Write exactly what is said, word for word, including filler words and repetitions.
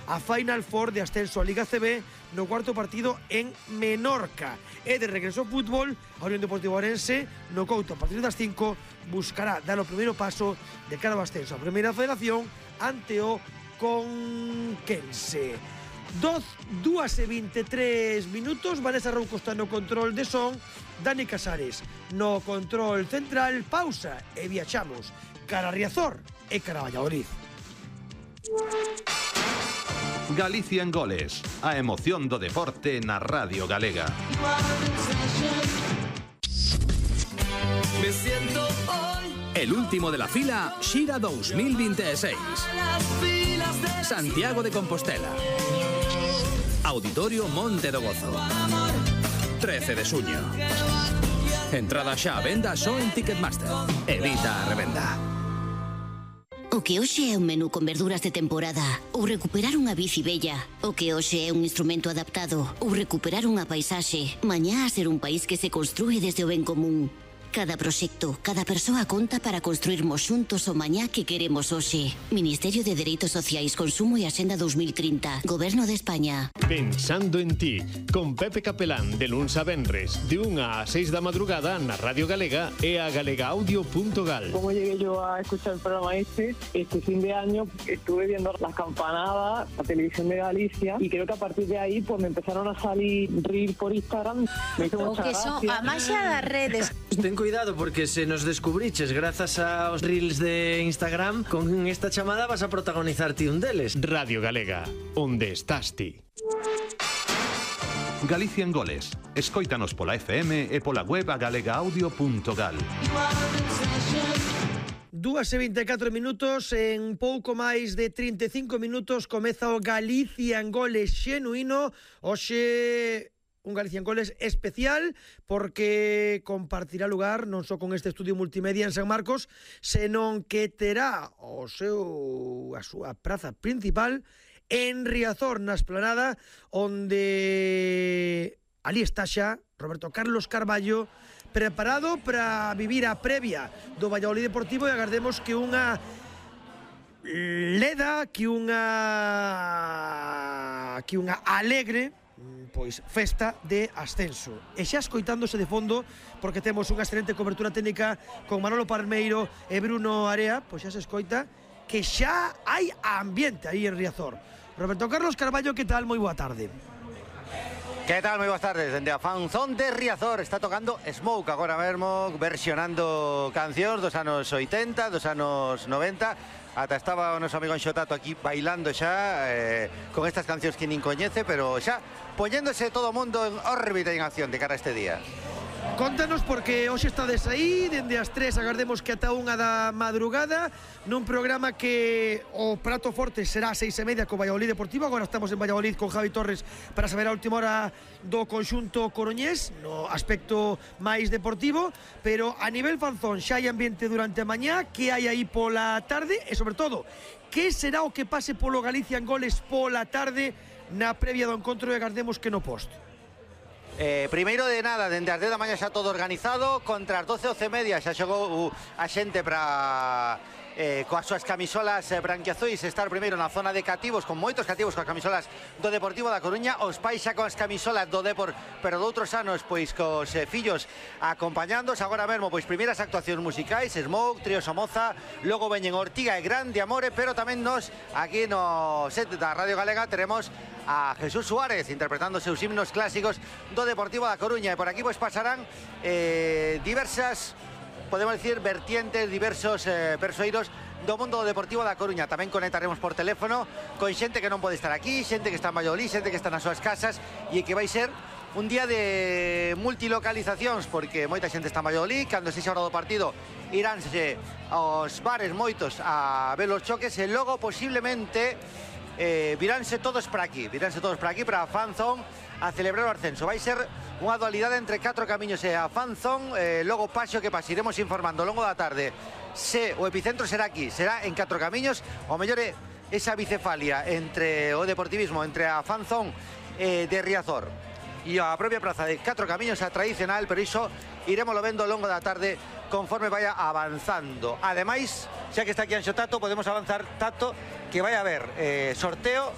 a Final Four de ascenso a Liga C B no cuarto partido en Menorca. E de regreso ao fútbol, a Unión Deportiva Ourense no Couto a partir das cinco buscará dar o primeiro paso de cara ao ascenso a Primeira Federación ante o Conquense. dúas e veintitrés minutos, Vanessa Rouco está no control de son, Dani Casares no control central. Pausa e viaxamos cara a Riazor e cara a Valladolid. Galicia en goles, a emoción do deporte na Radio Galega. Me siento hoy. El último de la fila, Xira dos mil veintiséis. Santiago de Compostela. Auditorio Monte do Gozo. trece de suño. Entrada xa a venda só en Ticketmaster. Evita a revenda. O que hoxe é un menú con verduras de temporada ou recuperar unha bici bella. O que hoxe é un instrumento adaptado ou recuperar unha paisaxe. Mañá a ser un país que se construe desde o ben común. Cada proxecto, cada persoa conta para construirmos xuntos o mañá que queremos hoxe. Ministerio de Dereitos Sociais, Consumo e Axenda dos mil trinta. Goberno de España. Pensando en ti, con Pepe Capelán de luns a venres, de unha a seis da madrugada na Radio Galega e a galegaudio punto gal. Como llegué yo a escuchar el programa este, este fin de año estuve viendo las campanadas, la televisión de Galicia, y creo que a partir de ahí pues me empezaron a salir reels por Instagram. Me hizo O mucha que son gracia. a maxia das redes. Ten cuidado porque se nos descubriches grazas aos reels de Instagram, con esta chamada vas a protagonizar ti un deles. Radio Galega, onde estás ti? Galicia en goles, escóitanos pola F M e pola web a galegaudio punto gal. dúas e vinte e catro minutos, en pouco máis de trinta e cinco minutos comeza o Galicia en goles xenuíno. Hoxe un Galicia en goles especial porque compartirá lugar non só con este estudio multimedia en San Marcos, senón que terá o seu, a súa praza principal en Riazor, na esplanada, onde ali está xa Roberto Carlos Carballo, preparado para vivir a previa do Valladolid Deportivo, e agardemos que unha leda, que unha que unha alegre pois festa de ascenso. E xa escoitándose de fondo, porque temos unha excelente cobertura técnica con Manolo Palmeiro e Bruno Area, pois xa se escoita que xa hai ambiente aí en Riazor. Roberto Carlos Carballo, que tal? Moi boa tarde. Que tal? Moi boas tardes. Dende a fanzón de Riazor está tocando Smoke agora mesmo, versionando cancións dos anos oitenta, dos anos noventa. Ata estaba o noso amigo Anxotato aquí bailando xa eh, con estas cancións que nin coñece, pero xa poñéndose todo o mundo en órbita e en acción de cara a este día. Contanos, porque hoxe estades aí dende as tres, agardemos que ata unha da madrugada, nun programa que o prato forte será a seis e media co Valladolid Deportivo. Agora estamos en Valladolid con Javi Torres para saber a última hora do conxunto coruñés no aspecto máis deportivo, pero a nivel fanzón xa hai ambiente durante a mañá. Que hai aí pola tarde e, sobre todo, que será o que pase polo Galicia en goles pola tarde na previa do encontro, e agardemos que no post? Eh, primeiro de nada, dende as dez da mañá xa todo organizado. Contra as doce, doce e media xa xogou a xente para eh, coas súas camisolas eh, branquiazuis estar primeiro na zona de cativos, con moitos cativos coas camisolas do Deportivo da Coruña. Os pais xa con as camisolas do Depor, pero de outros anos pois cos eh, fillos acompañándos. Agora mesmo pois primeiras actuacións musicais, Smoke, Trío Somoza, logo veñen Ortiga e Grande Amore, pero tamén nos aquí no set da Radio Galega teremos a Jesús Suárez interpretando seus himnos clásicos do Deportivo da Coruña. E por aquí pois pasarán eh, diversas, podemos decir, vertientes, diversos eh, persoeiros do mundo do Deportivo da Coruña. Tamén conectaremos por teléfono con xente que non pode estar aquí, xente que está en Valladolid, xente que está nas súas casas, e que vai ser un día de multilocalizacións, porque moita xente está en Valladolid. Cando se xa hora do partido iránse aos bares moitos a ver os choques, e logo posiblemente eh, viránse todos para aquí, viránse todos para aquí, para a fanzón, a celebrar o ascenso. Vai ser unha dualidade entre catro camiños e a fanzón, eh, logo paso que paso iremos informando ao longo da tarde se o epicentro será aquí, será en catro camiños, o mellor é esa bicefalia entre o deportivismo, entre a fanzón eh, de Riazor e a propia praza de catro camiños, a tradicional, pero iso iremos lo vendo ao longo da tarde conforme vaya avanzando. Ademais, xa que está aquí Anxo Tato, podemos avanzar, Tato, que vai haber eh, sorteo